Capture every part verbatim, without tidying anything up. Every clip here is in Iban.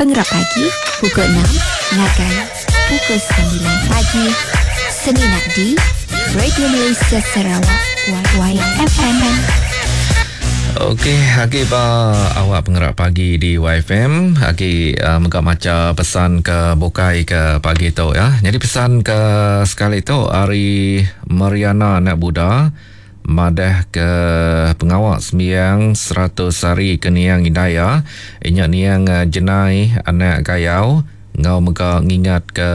Pengerap pagi pukul enam ngagai pukul sembilan pagi semina di Radio Malaysia Sarawak Y F M. Okey, agi ba awak pengerak pagi di Y F M, agi uh, mega maca pesan ke bukai ke pagi tu ya. Jadi pesan ke sekali tu hari Mariana anak Buddha madah ke pengawak sembiang seratus hari ke niang Hidayah, inyak niang Jenai anak Gayau ngau mega ngingat ke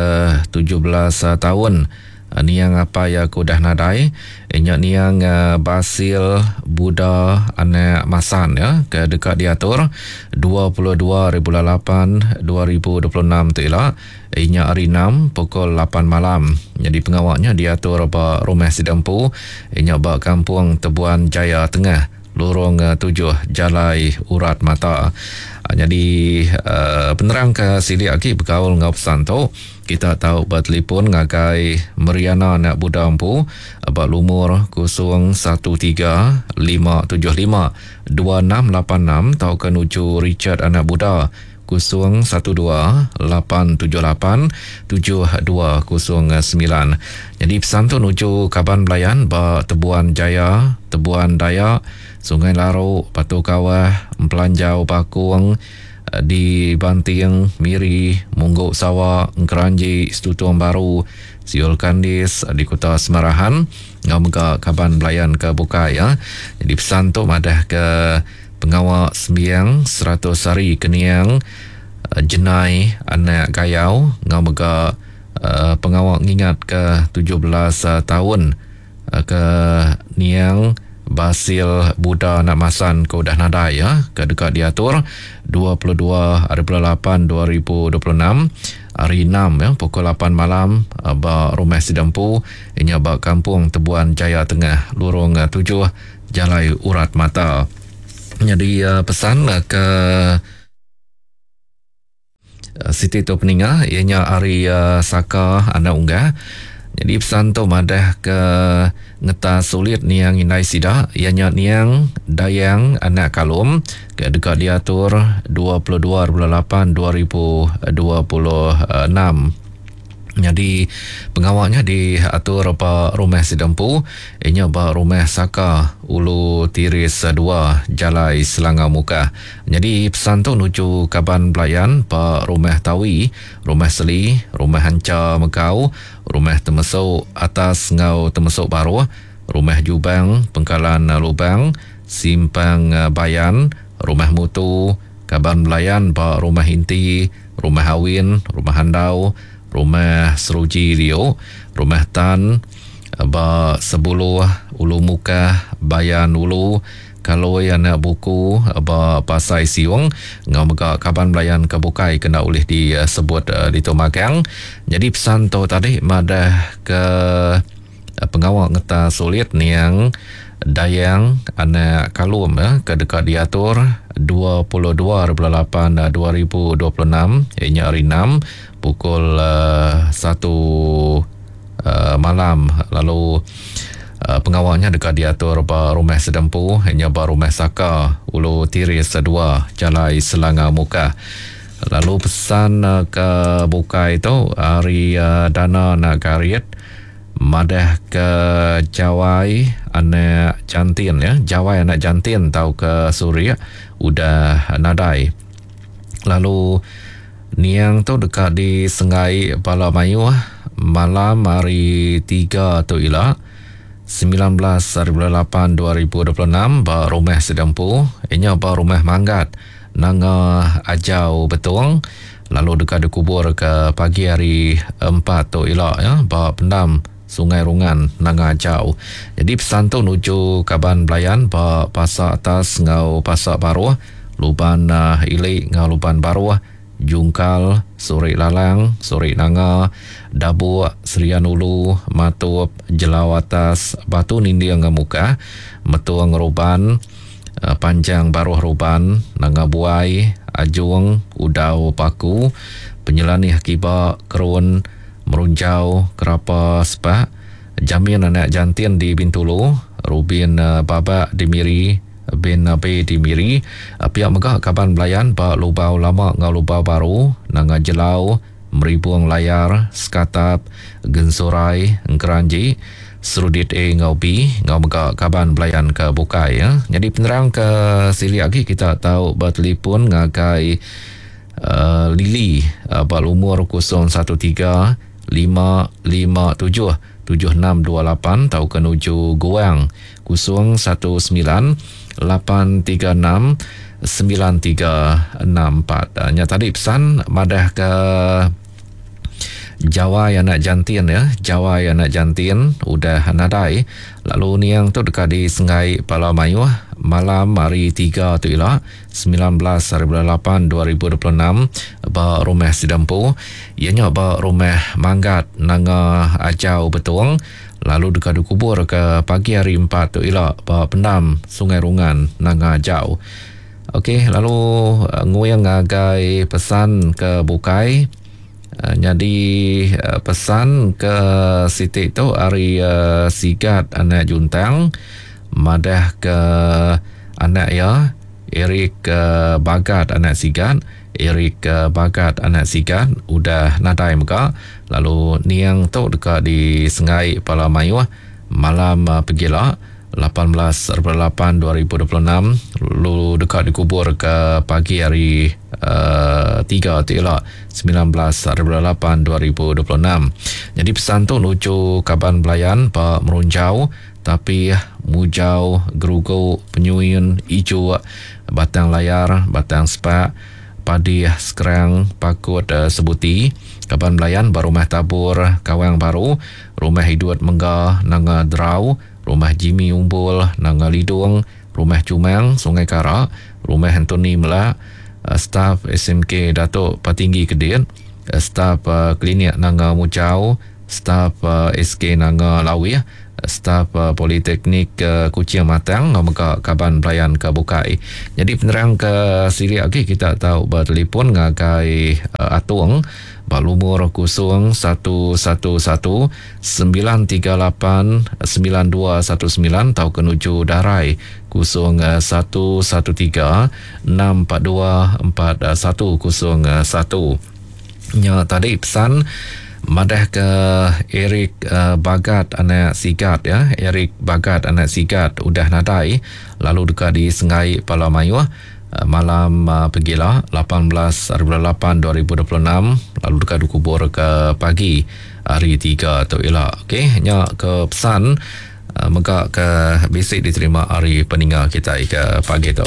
tujuh belas tahun niang apa ya aku dah nadai, inyak niang Basil Buddha anak Masan ya ke dekat diatur dua puluh dua hari bulan lapan dua ribu dua puluh enam tu ila inyak hari enam pukul lapan malam. Jadi pengawaknya diatur ba rumah Sidempu inyak ba kampung Tebuan Jaya Tengah Lorong tujuh Jalai Urat Mata. Jadi uh, penerang ke silik lagi berkaul ngau pesan tu kita tahu bertelefon ngagai Mariana anak Buddha empu ba lumur kosong satu tiga lima tujuh lima dua enam lapan enam tau ke nuju Richard anak Buddha kosong satu dua lapan tujuh lapan tujuh dua kosong sembilan. Jadi pesan tu nuju kaban belayan ba Tebuan Jaya, Tebuan Dayak, Sungai Laruk, Batu Kawah, Empelanjau Bakung, di Banting, Miri, Mungguk Sawa, Engkeranji, Setutung Baru, Siul Kandis di Kota Semarahan, ngau mega kaban belayan ke bukai ya. Jadi pesan tu madah ke pengawak sembiang seratus hari keniang Jenai anak Gayau ngau mega uh, pengawak ngingat ke tujuh belas uh, tahun uh, ke niang Basil Buddha anak Masan ke udah nadai ya ke dekat diatur dua puluh dua hari bulan lapan dua ribu dua puluh enam hari enam ya pukul lapan malam ba rumah Sidempu inya ba kampung Tebuan Jaya Tengah Lorong tujuh Jalai Urat Mata. Jadi pesan ke Siti tu peninga ianya hari Saka anak unggah. Jadi pesan tu madah ke ngeta sulit niang indai sida ianya niang Dayang anak Kalum ke dekat diatur dua puluh dua hari bulan lapan dua ribu dua puluh enam. Jadi pengawaknya diatur ba rumah Sidempu inya ba rumah Saka Ulu Tiris dua Jalai Selangau Mukah. Jadi pesan tu nuju kaban belayan ba rumah Tawi, rumah Seli, rumah Hanca Megau, rumah Temesuk Atas ngau Temesuk Baruh, rumah Jubang, Pengkalan Lubang, Simpang Bayan, rumah Mutu, kaban belayan ba rumah Inti, rumah Awin, rumah Handau, rumah Seruji Rio, rumah Tan, ba Sebuluh, Ulu Mukah, Bayan Ulu, Kaloi anak buku, ba Pasai Siung, ngau mega kaban belayan ke bukai kena ulih disebut uh, di Tumagang. Jadi pesan tu tadi madah ke pengawak ngeta sulit niang Dayang anak Kalum ya, ke dekat diatur dua puluh dua hari bulan lapan dua ribu dua puluh enam ianya hari enam pukul uh, satu uh, malam. Lalu uh, pengawaknya dekat diatur ba rumah Sedempu ianya ba rumah Saka Ulu Tiris dua Jalai Selangau Mukah. Lalu pesan uh, ke bukai tu hari uh, Dana nak garit madah ke Jawai anak jantin ya, Jawai anak jantin tau ke Suria udah nadai. Lalu niang tu dekat di Sengai Pala Mayuh malam hari tiga tu ila sembilan belas hari bulan lapan dua ribu dua puluh enam ba rumah Sedempu inya ba rumah Manggat Nanga Ajau Betong. Lalu dekat dikubur ke pagi hari empat tu ila ya ba pendam Sungai Rungan Nanga Ajau. Jadi pesan tu nuju kaban belayan ba Pasak Atas ngau Pasak Baruh, Luban uh, Ilik ngau Luban Baruh, Jungkal, Surik Lalang, Surik Nanga, Dabuk, Serian Ulu, Matup, Jelau Atas, Batu Ninding ngau Mukah, Metung Ruban, uh, Panjang Baruh Ruban, Nanga Buai, Ajung, Udau Paku, Penyelanih Kiba, Kerun, Merunjau, Kerapa Sepak, Jamin anak jantin di Bintulu, Rubin uh, Babak di Miri, bin Abe di Miri. Pia mega kaban belayan ba Lubau Lama enggau Lubau Baru, Nanga Jelau, Meribung Layar, Sekatap, Gensurai, Engkeranji, Serudit A enggau B enggau mega kaban belayan ke bukai ya. Jadi penerang ke silik agi kita tahu bertelefon ngagai uh, Lily uh, ba lumur kosong satu tiga lima lima tujuh tujuh enam dua lapan atau ke nuju Guang kosong satu sembilan lapan tiga enam sembilan tiga enam empat. Nya tadi pesan madah ke Jawai anak jantin ya, Jawai anak jantin udah nadai lalu niang tu dekat di Sengai Pala Mayuh malam hari tiga tu ila sembilan belas hari bulan lapan dua ribu dua puluh enam ba rumah Sidempu, ianya ba rumah Manggat Nanga Ajau Betong, lalu dekat dikubur ke pagi hari empat tu ila ba pendam Sungai Rungan Nanga Ajau. Okey, lalu nguyang ngagai pesan ke bukai. Uh, jadi uh, pesan ke Siti tu hari uh, Sigat anak Juntang madah ke anak ya Eric uh, Bagat anak Sigat, Eric uh, Bagat anak Sigat udah nadai mega, lalu niang tu dekat di Sengai Pala Mayuh malam uh, pegila lapan belas lapan dua ribu dua puluh enam, lalu dekat dikubur ke pagi hari uh, tiga tu ila sembilan belas lapan dua ribu dua puluh enam. Jadi pesan tu nuju kaban belayan Pak Merunjau, tapi Mujau, Gerugu, Penyuin, Ijuk, Batang Layar, Batang Sepak, Padi Sekerang, Pakut uh, Sebuti, kaban belayan Barumah Tabur, Kawang Baru, Rumah Hiduat Mengga, Nanga Derau, Rumah Jimmy Umbul, Nanga Lidung, Rumah Cumang, Sungai Kara, Rumah Anthony Melak, staf S M K Datuk Patinggi Kedit, staf uh, Klinik Nanga Mujau, staf uh, S K Nanga Lawih, staf uh, Politeknik uh, Kuching Matang, mega kaban belayan ke bukai. Jadi penerang ke silik lagi kita tahu bertelefon ngagai uh, Atung ba lumur kosong satu satu satu sembilan tiga lapan sembilan dua satu sembilan atau ke nuju Darai kosong satu satu tiga enam empat dua empat satu kosong satu. Nya tadi pesan madah ke Eric uh, Bagat anak Sigat ya, Eric Bagat anak Sigat udah nadai lalu dekat di Sengai Pala Mayuh uh, malam uh, pegila lapan belas lapan dua ribu dua puluh enam, lalu dekat dikubur ke pagi hari tiga tu ila. Okey, nya ke pesan uh, mega ke bisi diterima hari peninggal kita ke pagi tu.